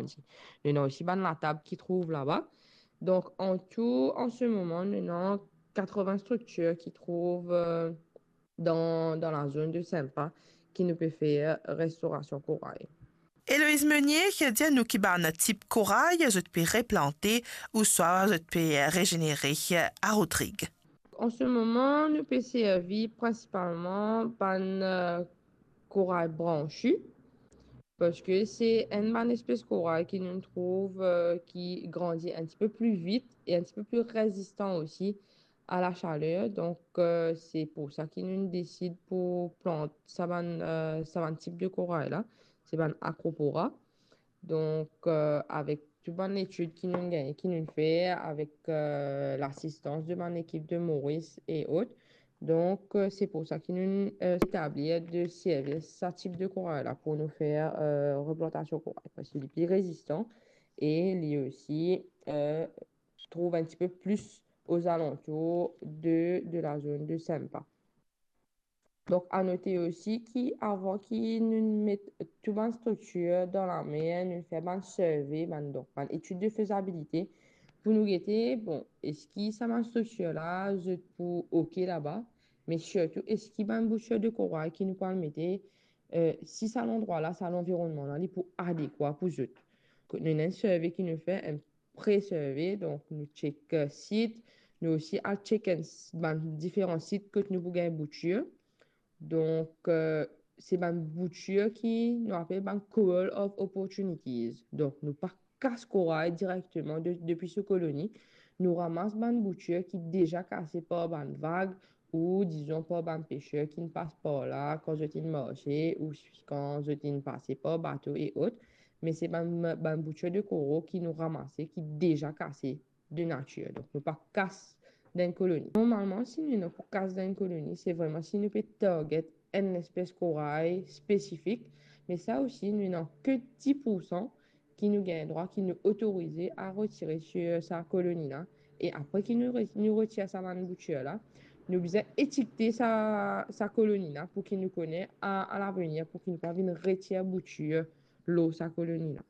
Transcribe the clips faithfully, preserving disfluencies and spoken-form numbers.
Nou ena osi bann latab ki trouv laba. Donk, an tou, an se moman, nou ena katreven striktir ki trouv, euh, dan, dan la zone de Sympa ki nou pe fer restorasion koray. Héloïse Meunier, dir nou ki bann tip koray zot pe replante ouswa zot pe rezenere a Rodrig. An se moman, nou pe servi prinsipalman bann, euh, koray branchi, parski se enn bann espes koray ki nou trouv, euh, ki grandi enn tipe pli vit e enn tipe pli rezistan osi a la chaler. Donk, euh, se pou sa ki nou desid pou plant sa bann, euh, sa bann tip de koray la, se bann Acropora. Donk, euh, avek tou bann letid ki nou gagn, ki nou fer avek, euh, lasistans de bann lekip de Maurice e ot. Donk, euh, se pou sa ki nou, euh, etablir de servi sa tip de koray la pou nou fer, euh, replantasion koray, parski li pli rezistan e li osi, euh, trouv enn tipe plis ozalantour de, de la zone de Sympa. Donk, a note osi ki avan ki nou met tou bann striktir dan lamer, nou fer bann survey, bann, donk, bann etid de fezabilite pou nou gete, bon, eski sa bann striktir la, zot pou ok laba, me sirtou, eski bann boutir de koray ki nou pou al mete, euh, si sa landrwa la, sa lanvironnman la, li pou adekwa pou zot. Nou ena enn survey ki nou fer, enn pre-survey, donk nou check, euh, sit, nou osi al check enn s-, bann diferan sit kot nou pou gagn boutir. Donk, euh, se bann boutir ki nou apel bann coral of opportunities. Donk, nou pa kas koray direkteman de, depi so koloni. Nou ramas bann boutir ki deza kase par bann vag ou, dizon, par bann peser ki'nn pas par la kan zot inn marse ou kan zot inn pase par bato e ot. Me se bann, bann boutir de koral ki nou ramase, ki deza kase de natir. Donk, nou pa kas dan enn koloni. Normalman, si nou ena pou kas dan enn koloni, se vreman si nou pe target enn espes koray spesifik, me sa osi, nou ena ke dis poursan ki nou gagn drwa, ki nou otorize a retire sir sa koloni la. E apre ki nou re-, nou retir sa bann boutir la, nou bizin etikete sa, sa koloni la pou ki nou kone a, a lavenir, pou ki nou pa vinn retir boutir lor sa koloni la.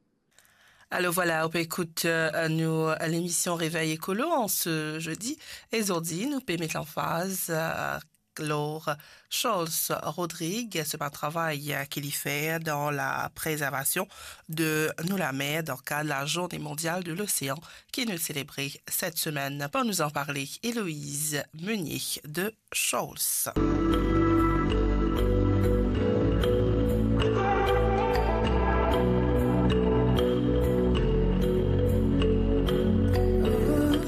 Alors voilà, ou pe ekout, euh, nou, euh, lemision Réveil Écolo an se zedi. E zordi, nou pe met lanfaz, euh, lor Charles Rodrigue, so bann travay, euh, ki li fer dan la prezervasion de nou lamer dan kad la Journée mondiale de l'océan ki nou selebre set semenn. Pou nou an parle, Héloïse Meunier de Charles.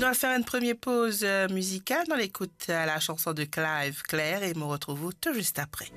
Nou al fer enn premie poz, euh, mizikal. Nou al ekout, euh, la chanson de Clive Claire e mo retrouv ou tou zis apre.